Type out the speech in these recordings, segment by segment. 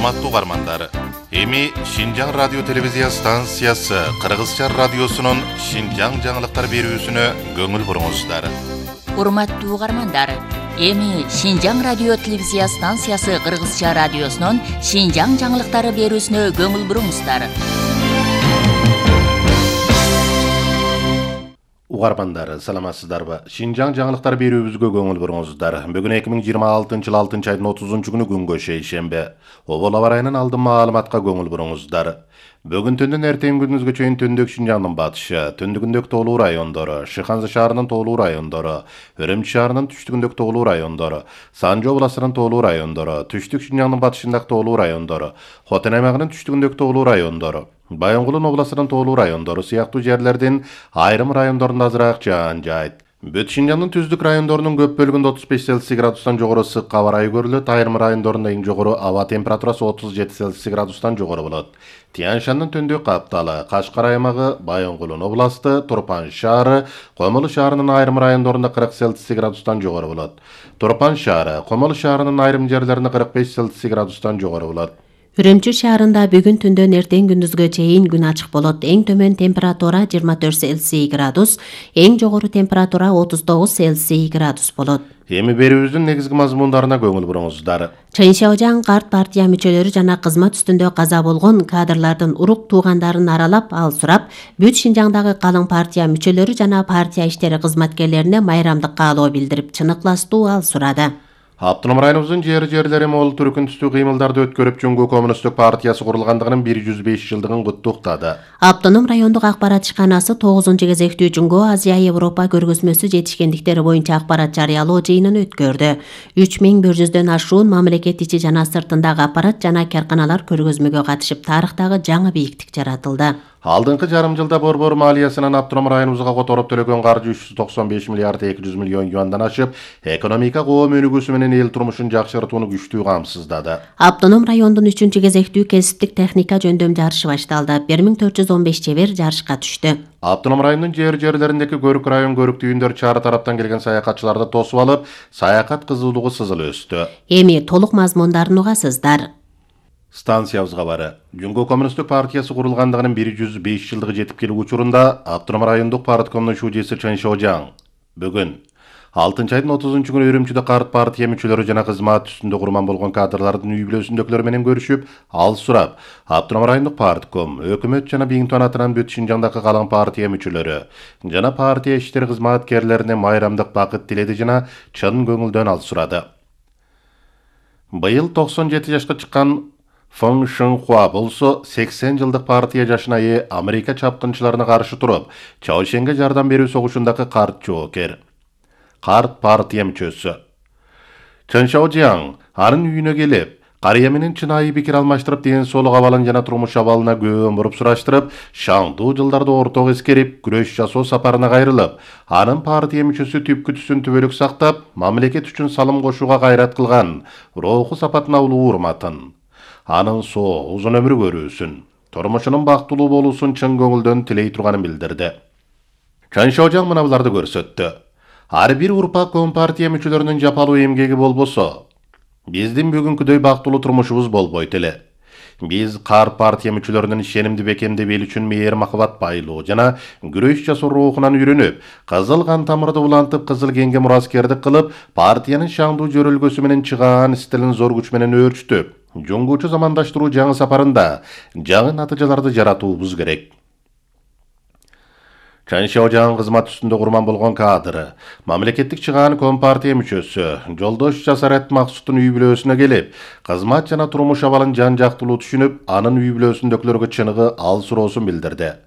Урматтуу угармандар, эми Шинжаң радио телевизия станциясы Кыргызча радиосунун Шинжаң жаңылыктар берүүсүнө көңүл буруңуздар. Урматтуу угармандар, эми Шинжаң радио телевизия станциясы Кыргызча радиосунун Шинжаң жаңылыктары берүүсүнө көңүл буруңуздар. Угармандар, саламатсыздарбы? Шинжаң жаңылыктар берүүбүзгө көңүл буруңуздар. Бүгүн 2026 жыл 6 айдын 30 күнгө шейшембе. Обол аба ырайынын алдын маалыматка көңүл буруңуздар. Бүгүн түндөн эртең күнүзгө чейин түндүк Шинжаңдын батышы, түндүгүндөгү тоолуу райондору, Шыханзы шаарынын тоолуу райондору, Өрөмчү шаарынын түштүгүндөгү тоолуу райондору, Санжы областынын тоолуу райондору, түштүк Шинжаңдын батышындагы тоолуу райондору, Хотен аймагынын түштүгүндөгү тоолуу райондору, Байонгулун областынын тоолуу райондору сыяктуу жерлердин айрым райондорунда азыраак жаан жаайт. Бүт Шинжаңдын түздүк райондорунун көп бөлүгүндө 35 Цельсий градустан жогору ысык аба ырайы көрүлөт. Айрым райондорунда эң жогору аба температурасы 37 Цельсий градустан жогору болот. Тянь-Шандын түндүк капталы, Кашкар аймагы, Байонгулун областы, Турпан шаары, Комолу шаарынын айрым райондорунда 40 Цельсий градустан жогору болот. Турпан шаары, Комолу шаарынын айрым жерлеринде 45 Цельсий градустан жогору болот. Үрөмчү шаарында бүгүн түндөн эртең күндүзгө чейин күн ачык болот. Эң төмөн температура 24 Цельсий градус, эң жогору температура 39 Цельсий градус болот. Эми берүүбүздүн негизги мазмундарына көңүл буруңуздар. Чайын Шаожаң карт партия мүчөлөрү жана кызмат үстүндө каза болгон кадрлардын урук туугандарын аралап, ал сурап, бүт Шинжаңдагы калың партия мүчөлөрү жана партия иштери кызматкерлерине майрамдык каалоо билдирип, чынык ыластуу ал сурады. Автоном районубуздун жери мол түркүн түстүү кыймылдарды өткөрүп, Жумгу коммунисттик партиясы курулгандыгынын 105 жылдыгын куттуктады. Автоном райондук акпарат ишканасы 9-кезектүү Жумгу Азия Европа көргөзмөсү жетишкендиктери боюнча акпарат жарыялоо жыйынын өткөрдү. 3100дөн ашуун мамлекет ичи жана сыртындагы аппарат жана карканалар көргөзмөгө катышып, тарыхтагы жаңы бийиктик жаратылды. Алдыңкы жарым жылда борбор малиесинен автоном районубузга которуп төлөгөн каржы 395 миллиард 200 миллион юандан ашып, экономика коом өнүгүүсү менен эл турмушун жакшыртууну күчтүү камсыздады. Автоном райондун 3-кезектүү кесиптик техника жөндөм жарышы башталды. 1415 чебер жарышка түштү. Автоном райондун жерлериндеги көрүк район көрүк түйүндөр чары тараптан келген саякатчыларды тосуп алып, саякат кызуулугу сызыл өстү. Эми толук мазмундарын угасыздар. Станциябызга бары. Жумгу коммунисттик партиясы курулгандыгынын 105 жылдыгы жетип келүү учурунда автоном райондук парткомдун шуудеси Чайын Шаожаң бүгүн 6 айдын 30 күнү Өрөмчүдө карт партия мүчөлөрү жана кызмат үстүндө курман болгон кадрлардын үй бүлөсүндөгүлөр менен көрүшүп, ал сурап, автоном райондук партком, өкмөт жана Биңтон атынан бүт Шинжаңдагы калың партия мүчөлөрү жана партия иштери кызматкерлерине майрамдык бакыт тиледи жана чын көңүлдөн ал сурады. Быйыл 97 жашка чыккан Фэн Шэнхуа болсо 80 жылдык партия жашына ээ Америка чапкынчыларына каршы туруп, Чаошенге жардам берүү согушундагы карт жоокер. Карт партия мүчөсү. Чайын Шаожаң анын үйүнө келип, карыя менен чынайы пикир алмаштырып, ден соолук абалын жана турмуш абалына көөн буруп сураштырып, шаңдуу жылдарды ортого эскерип, күрөш жасоо сапарына кайрылып, анын партия мүчөсү түпкү-түсүн түбөлүк сактап, мамлекет үчүн салым кошууга кайрат кылган руху сапатына улуу урматын, анын соо узун өмүр көрүүсүн, турмушунун бактылуу болуусун чын көңүлдөн тилей турганын билдирди. Чайын Шаожаң мына буларды көрсөттү. Ар бир урпак компартия мүчөлөрүнүн жапалуу эмгеги болбосо, биздин бүгүнкүдөй бактылуу турмушубуз болбойт эле. Биз карт партия мүчөлөрүнүн ишенимди бекемдеп эл үчүн мээр махабат байлоо жана күрөш жасоо рухунан үйрөнүп, кызыл кан тамырды улантып, кызыл кеңге мураскердик кылып, партиянын шаңдуу жөрөлгөсү менен чыгаан стилин зор күч менен өөрчүтүп, жуңгуучу замандаштыруу жаңы сапарында жаңы натыйжаларды жаратуубуз керек. Чайын Шаожаң кызмат үстүндө курман болгон кадры, мамлекеттик чыгаан компартия мүчөсү Жолдош Жасарет Максуттун үй бүлөсүнө келип, кызмат жана турмуш абалын жан жактылуу түшүнүп, анын үй бүлөсүндөгүлөргө чыныгы ал суроосун билдирди.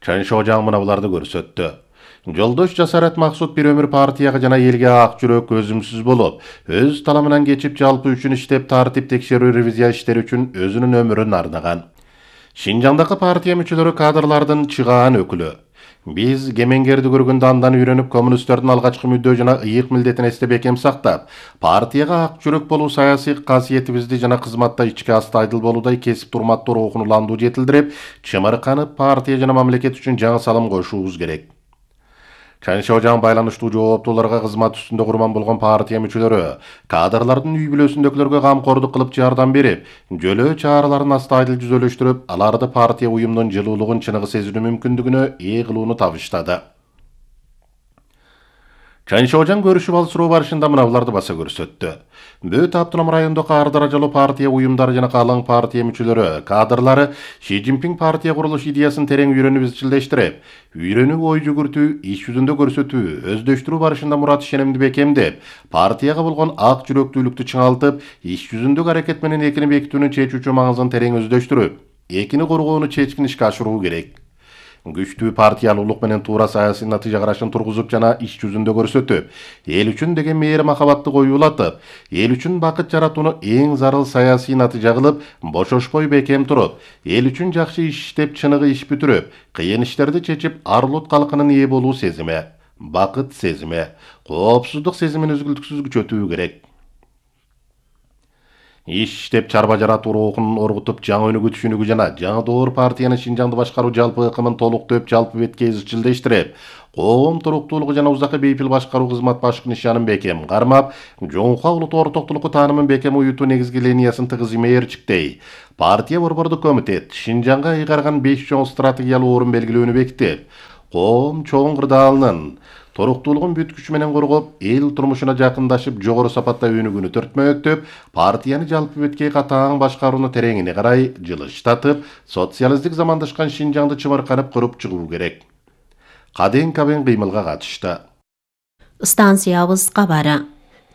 Чайын Шаожаң мына буларды көрсөттү. Жолдош Жасарет Максут бир өмүр партияга жана элге ак жүрөк, өзүмсүз болуп, өз таламынан кечип, жалпы үчүн иштеп, тартип текшерүү ревизия иштери үчүн өзүнүн өмүрүн арнаган. Шинжаңдагы партия мүчөлөрү кадрлардын чыгаан өкүлү. Биз кемеңгерди көргөндө андан үйрөнүп, коммунисттердин алгачкы мүддө жана ыйык милдетин эстеп бекем сактап, партияга ак жүрөк болуу саясий касиетибизди жана кызматта ички асты айдыл болуудай кесип турматтуу рухун уландуу жетилдирип, чымырканып, партия жана мамлекет үчүн жаңы салым кошуубуз керек. Чан Шожаң байланыштуу жооптууларга кызмат үстүндө курман болгон партия мүчөлөрү кадрлардын үй бүлөсүндөгүлөргө камкордук кылып жардам берип, жөлөө чараларын астайдыл жүзөлөштүрүп, аларды партия уюмунун жылуулугун чыныгы сезинүү мүмкүндүгүнө ээ кылууну табыштады. Чан Шожаң көрүшүп алышуу барышында мыналарды баса көрсөттү. Бөт автоном райондогу ар даражалуу партия уюмдары жана калың партия мүчөлөрү, кадрлары Ши Цзиньпин партия курулуш идеясын терең үйрөнүп изчилдештирип, үйрөнүү ой жүгүртүү, иш жүзүндө көрсөтүү, өздөштүрүү барышында мурат ишенимди бекемдеп, партияга болгон ак жүрөктүүлүктү чыңалтып, иш жүзүндөгү аракет менен экини бекитүүнүн чечүүчү маңызын терең өздөштүрүп, экини коргоону чечкин ишке ашыруу керек. Күчтүү партиялуулук менен туура саясий натыйжа карашын тургузуп жана иш жүзүндө көрсөтүп, эл үчүн деген мээри махабатты коюулатып, эл үчүн бакыт жаратууну эң зарыл саясий натыйжа кылып, бошошпой бекем туруп, эл үчүн жакшы иш иштеп, чыныгы иш бүтүрүп, кыйын иштерди чечип, ар-улут калкынын ээ болуу сезими, бакыт сезими, коопсуздук сезимин үзгүлтүксүз күчөтүү керек. Иш иштеп чарба жаратуу рухун оргутуп, жаңы өнүгүү түшүнүгү жана жаңы доор партиянын Шинжаңды башкаруу жалпы ыкымын толуктоп, жалпы бетке изчилдештирип, коом туруктуулугу жана узакка бейпил башкаруу кызмат башкы нишанын бекем кармап, жоңкуа улут ортоктулукку таанымын бекем уютуу негизги линиясын тыгыз имээрчиктей, партия борбордук комитет Шинжаңга ыйгарган 5 чоң стратегиялуу орун белгилөөнү бекитип, коом чоң кырдаалынын туруктуулугун бүт күчү менен коргоп, эл турмушуна жакындашып, жогору сапатта өнүгүүнү төртмөктөп, партияны жалпы бетке катаң башкарууну тереңине карай жылыштатып, социалисттик замандашкан Шинжаңды чымырканып куруп чыгуу керек. Каден-кабен кыймылга катышты. Станциябыз кабары.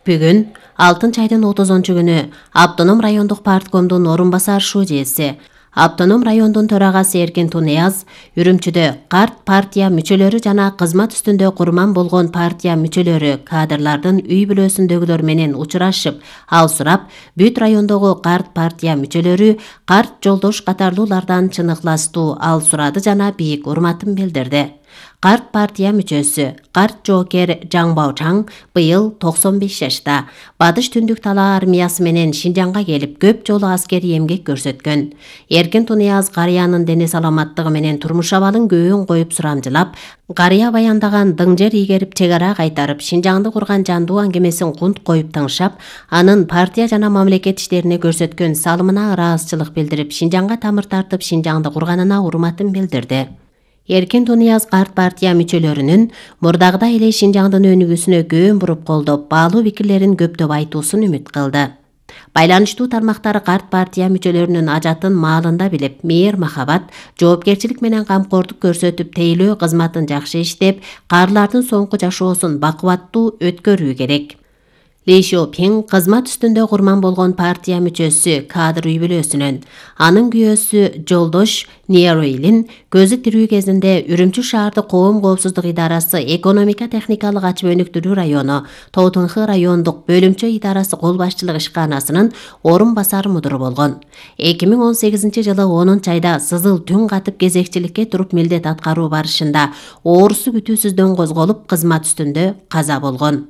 Бүгүн 6 айдын 30-күнү Автоном райондук парткомдун орун басар шужеси, Автоном райондун төрагасы Эркин Тунияз Үрүмчүдө карт партия мүчөлөрү жана кызмат үстүндө курман болгон партия мүчөлөрү кадрлардын үй бүлөсүндөгүлөр менен учурашып, ал сурап, бүт райондогу карт партия мүчөлөрү карт жолдош катарлуулардан чын ыкластуу ал сурады жана бийик урматын билдирди. Карт партия мүчөсү, карт жоокер Жаң Баочаң быйыл 95 жашта. Батыш түндүк талаа армиясы менен Шинжаңга келип, көп жолу аскери эмгек көрсөткөн. Эркин Тунияз карыянын дене саламаттыгы менен турмуш абалын көбүн коюп сурамжылап, карыя баяндаган дың жер ийгерип чек ара кайтарып, Шинжаңды курган жандуу аңгемесин кунт коюп тыңшап, анын партия жана мамлекет иштерине көрсөткөн салымына ыраазычылык билдирип, Шинжаңга тамыр тартып, Шинжаңды курганына урматын билдирди. Эркин Тунияз карт партия мүчөлөрүнүн мурдагыдай эле Шинжаңдын өнүгүүсүнө көбүн буруп колдоп, баалуу пикирлерин көптөп айтуусун үмүт кылды. Байланыштуу тармактары карт партия мүчөлөрүнүн ажатын маалында билип, мээр махабат, жоопкерчилик менен камкордук көрсөтүп, тейлөө кызматын жакшы иштеп, каарылардын соңку жашоосун бакубаттуу өткөрүү керек. Ли Шопин кызмат үстүндө курман болгон партия мүчөсү кадр үй бүлөсүнөн, анын күйөөсү жолдош Ниеройлин көзү тирүү кезинде Үрүмчү шаардык коом коопсуздук идарасы экономика техникалык ачып өнүктүрүү району Тоотунхы райондук бөлүмчө идарасы кол башчылык ишканасынын орун басар мудуру болгон. 2018 жылы 10 айда сызыл түн катып кезекчиликке туруп милдет аткаруу барышында оорусу күтүүсүздөн козголуп кызмат үстүндө каза болгон.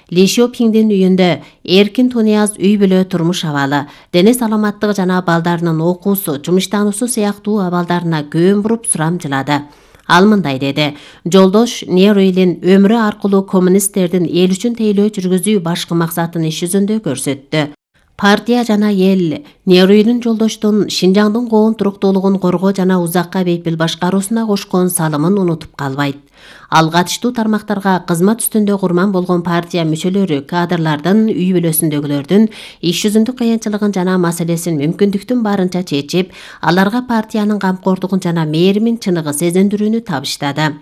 Ли Шопиңдин үйүндө Эркин Тунияз үй бүлө турмуш абалы, дене саламаттыгы жана балдарынын окуусу, жумуштануусу сыяктуу абалдарына көбүн буруп сурамжылады. Ал мындай деди: жолдош Ниеройлин өмүрү аркылуу коммунисттердин эл үчүн тейлөө жүргүзүү башкы максатын иш жүзүндө көрсөттү. Партия жана эл Ниеройлин жолдоштун Шинжаңдын коом туруктуулугун коргоо жана узакка бейпил башкаруусуна кошкон салымын унутуп калбайт. Ал катыштуу тармактарга кызмат үстүндө курман болгон партия мүчөлөрү кадрлардын үй бүлөсүндөгүлөрдүн иш жүзүндүк кыйынчылыгын жана маселесин мүмкүндүктүн барынча чечип, аларга партиянын камкордугун жана мээримин чыныгы сезиндирүүнү табыштады.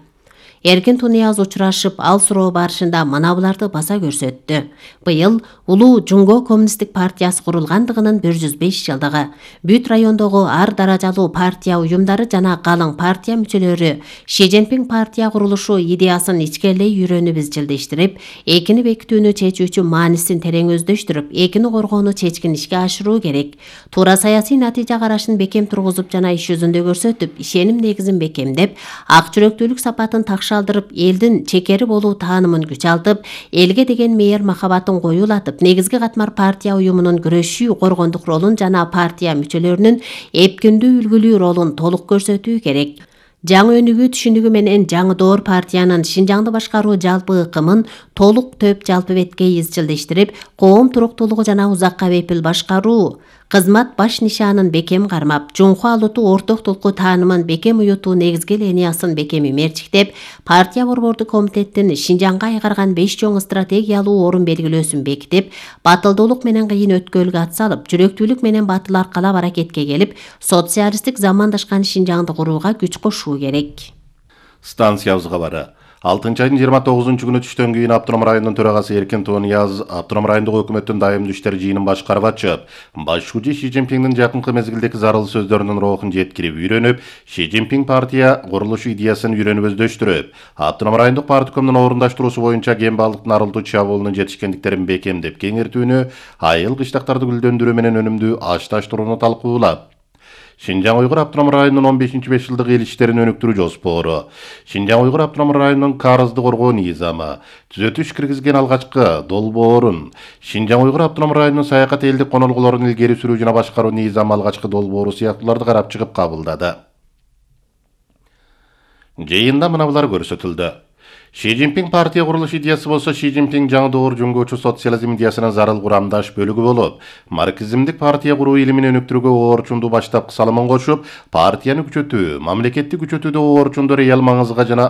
Эркин Тунияз учурашып, ал суроо барышында мына буларды баса көрсөттү. Быйыл улуу Жумго коммунисттик партиясы курулгандыгынын 105 жылдыгы. Бүт райондогу ар даражалуу партия уюмдары жана калың партия мүчөлөрү Ши Цзиньпин партия курулушу идеясын ичкерлей үйрөнүп изчилдештирип, экини бекитүүнү чечүүчү маанисин терең өздөштүрүп, экини коргоону чечкин ишке ашыруу керек. Туура саясий натыйжа карашын бекем тургузуп жана иш жүзүндө көрсөтүп, ишеним негизин бекемдеп, ак жүрөктүүлүк сапатын такшалдырып, элдин чекери болуу таанымын күчалтып, элге деген мээр махабатын коюулатып, негизги катмар партия уюмунун күрөшүү, коргондук ролун жана партия мүчөлөрүнүн эпкиндүү үлгүлүү ролун толук көрсөтүү керек. жаңы өнүгүү түшүнүгү менен жаңы доор партиянын Шинжаңды башкаруу жалпы ыкымын толук төп жалпы бетке изчилдештирип, коом туруктуулугу жана узакка бепил башкаруу кызмат баш нишанын бекем кармап, жумху алутуу орток толку таанымын бекем уютуу негизги линиясын бекем мерчиктеп, партия борбордук комитеттин Шинжаңга айгарган 5 чоң стратегиялуу орун белгилөөсүн бекитип, батылдуулук менен кыйын өткөлгө атсалып, жүрөктүүлүк менен батыл аркалап аракетке келип, социалисттик замандашкан Шинжаңды курууга күч кошуу керек. Станциябыз кабары. 6-айдын 29-күнү түштөн кийин Автоном районунун төрагасы Эркин Тонияз Автоном райондук өкмөттүн дайымдуу иштер жыйынын башкарып ачып, башчы Ши Цзиньпиндин жакынкы мезгилдеги зарыл сөздөрүнүн рухун жеткирип үйрөнүп, Ши Цзиньпин партия курулушу идеясын үйрөнүп өздөштүрүп, Автоном райондук парткомдун орундаштыруусу боюнча кембалдыктын арылтуу чабуулунун жетишкендиктерин бекемдеп кеңиртүүнү, айыл кыштактарды гүлдөндүрүү менен өнүмдүү ашташтырууну талкуулап, Шинжаң Уйгур Автоном районунун 15-5 жылдык эл иштерин өнүктүрүү жоспору, Шинжаң Уйгур Автоном районунун карызды коргоо низамы, түзөтүш киргизген алгачкы долбоорун, Шинжаң Уйгур Автоном районунун саякат элдик конолгулорун илгери сүрүү жана башкаруу низамы алгачкы долбоору сыяктууларды карап чыгып кабылдады. Жыйында мына булар көрсөтүлдү. Ши Цзиньпин партия курулуш идеясы болсо Ши Цзиньпин жаңы доор жөнгөөчү социализм идеясынын зарыл курамдаш бөлүгү болуп, марксизмдик партия куруу илимин өнүктүрүүгө оорчундуу баштапкы салымын кошуп, партияны күчөтүү, мамлекеттик күчөтүүдө оорчунду реал маңызга жана